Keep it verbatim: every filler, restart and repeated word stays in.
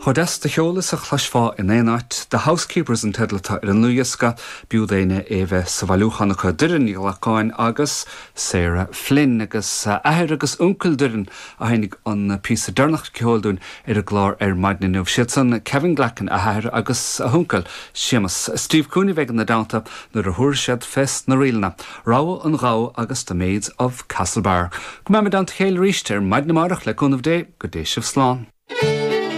Chomh deas de cheol is a chloisfeá in aon áit, The Housekeepers an teideal atá ar an ndlúthdhiosca b'fhiú d'éinne é bheith sa bhailiúchán acu Doireann Ní Ghlacáin agus Sarah Flynn agus athair agus uncail Doireann a tháinig an píosa deireanach ceoil dúinn ar an gclár ar maidin inniu. Siad san Kevin Glackin a athair agus a huncail Séamus Steve Cooney bheidh ina dteannta nuair a thabharfaidh siad fés na ríleanna. Rogha an Ghabha agus The Maids of Castlebar. Go mbeimid i dteannta a chéile arís ar maidin amárach le cúnamh Dé go dté sibh slán.